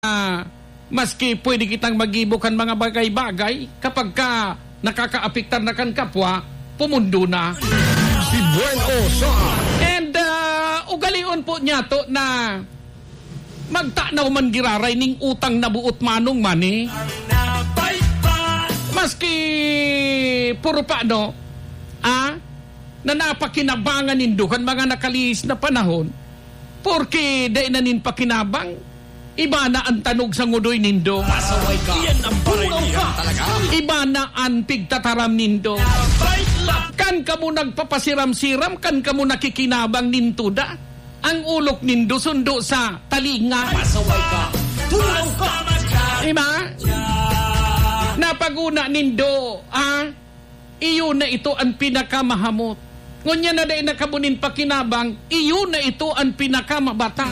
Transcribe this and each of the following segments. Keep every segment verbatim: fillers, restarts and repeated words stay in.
ah, maski pwede kitang magibo kan mga bagay-bagay, kapag ka nakakaapektar na kan kapwa, pumundo na. Si Buen Osa. And, ah, ugalion po niya to na magtanaw man giraray ning utang na buot manong mani. Maski puro pa, no? Ah? Na napakinabangan nindo kan mga nakalihis na panahon, porke dai na nin pakinabang, iba na an tanog sa ngudoy nindo. Pasaway ka. Yan ang parilihan talaga. Iba na an pigtataram nindo. Kan kamo nagpapasiram-siram, kan kamo nakikinabang nin tuda, ang ulok nindo sundo sa talinga. Pasaway ka. Tulaw ka. Diba? Napaguna nindo, ah, iyo na ito an pinakamahamot. Ngunyan na dai na kamo nin pakinabang, iyo na ito an pinakamabata.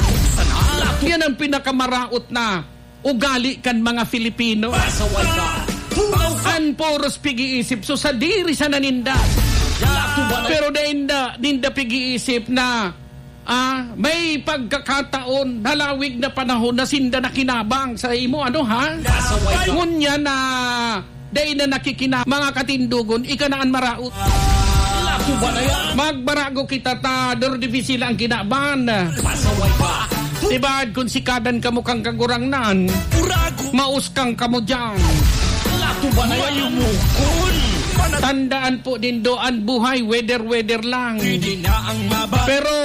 Yan ang pinakamaraot na ugali kan mga Filipino. Pasaway ka. Tulaw ka. An puros pig-iisip, so sadiri sana ninda. Pero dai ninda, ninda pig-iisip na, ah, may pagkakataon, halawig na panahon na sinda nakinabang sa imo, ano, ha? Pasaway ka. Ngunyan na dai na nakikina-, mga katindogon, ika na an maraot. Lato ba na yan? Magbarago kita ta, duro difícil ang kinaban. Pasaway ka. Diba, kung sikadan kamo kang kagurangnan, Urago. Mauskang kamo dyan. Lato ba na yan? Mayumukon. Tandaan po nindo, an buhay, weather-weather lang. Pwede na ang maba- Pero,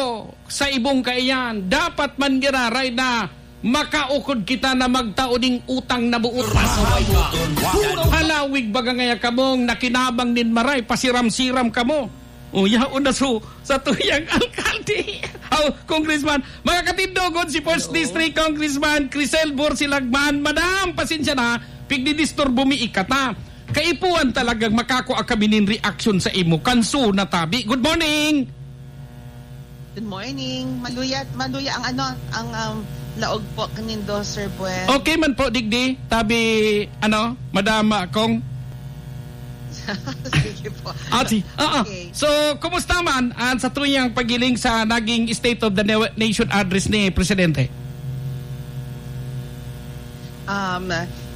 sa ibong kaiyan, dapat man giraray na makaukod kita na magtao ning utang na buot. Pasaway ka. Halawig baga ngaya kamong nakinabang nin maray, pasiram-siram kamo. O, yaon na so, sa tuyang alkalde. Aw, Congressman. Mga katindogon, si First Hello. District Congressman Crisel Borsilagman. Madam, pasensya na, pigdidisturbo mi ikata. Kaipuhan talagang makakua kami nin reaksyon sa imo. Kanso na tabi. Good morning! Good morning. Maluya, maluya ang ano, ang, um, laog po kanindo, Sir Buen. Okay man po, digdi. Tabi, ano, Madam, ah, Kong? Sige po. Ah, si-, ah, ah. Okay. So, kumusta man ang sa tuyang paghiling sa naging State of the Na-, Nation Address ni Presidente? Um,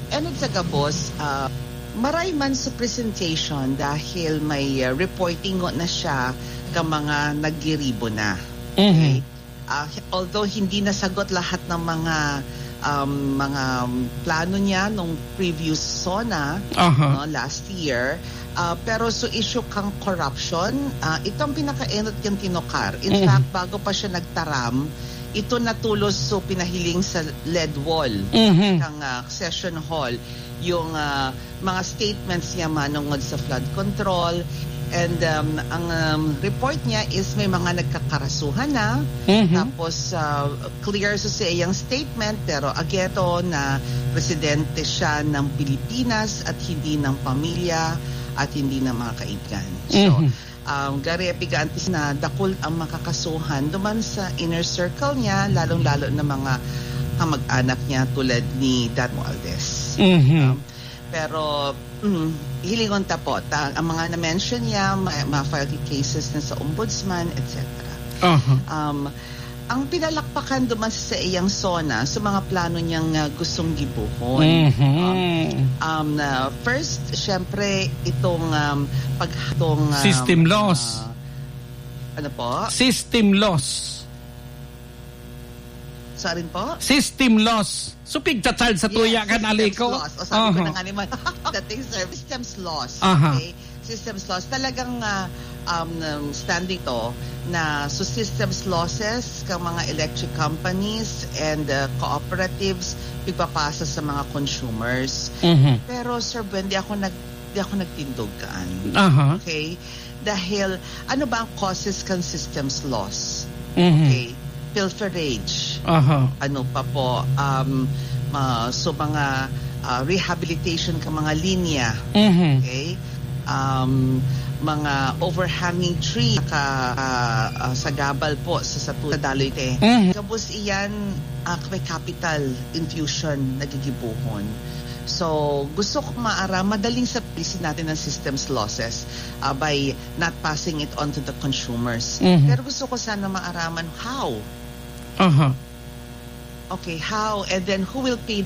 enot sa gabos, ah, maray man sa presentation dahil may, ah, reporting na siya ka mga naggiribo na. Mhm. Okay? Ah, although hindi nasagot lahat ng mga, um, mga, um, plano niya nung previous SONA, Aha. no, last year, ah, pero so issue kang corruption, ah, ito ang pinakaenot niyang tinukar. In Mm. fact, bago pa siya nagtaram, ito natulos so pinahiling sa lead wall Mhm. ng, ah, session hall, yung, ah, mga statements niya manungod sa flood control. And, um, ang, um, report niya is may mga nagkakarasuhan na. Mhm. Tapos, ah, clear sa iyang statement, pero ageto na presidente siya ng Pilipinas at hindi ng pamilya at hindi ng mga kaibigan. So, Mhm. um, gari pigantis na dakul ang makakasuhan duman sa inner circle niya, lalong-lalo na mga kamag-anak niya tulad ni Dan Romualdez. Mhm. Um, pero, mm, hilingon ta po, ta-, ang mga na-mention niya, ma-, ma-file cases na sa ombudsman, et cetera. Aha. Um, ang pinalakpakan duman sa iyang SONA, sa mga plano niyang, ah, gustong gibohon. Mhm. Um, um, na first, syempre, itong, um, pag-, itong, um, System loss. ah, ano po? System loss. Sa rin po? System loss. So, pigcha-charge sa tuya Yes, kan systems aliko. loss. O, sabi ko Aha. na nga naman, dating service systems loss. Aha. Okay? Systems loss. Talagang, ah, um, um, standing to na so systems losses kang mga electric companies and, uh, cooperatives pigpapasa sa mga consumers. Mhm. Pero, Sir Buen, di ako nag-, di ako nagtindog kaan. Aha. Okay? Dahil, ano ba ang causes kan systems loss? Mhm. Okay? Pilferage. Aha. Ano pa po? Um, ah, so, mga, ah, rehabilitation ka mga linya. Mhm. Okay? Um, mga overhanging tree ka, ah, ah, sagabal po sa, sa tu-, sa daloy te. Mhm. Kabus iyan, ah, may capital infusion nagigibuhon. So, gusto ko maara, madaling sa policy natin ang systems losses, ah, by not passing it on to the consumers. Mhm. Pero gusto ko sana maaraman how. Aha. Okay, how? And then who will pay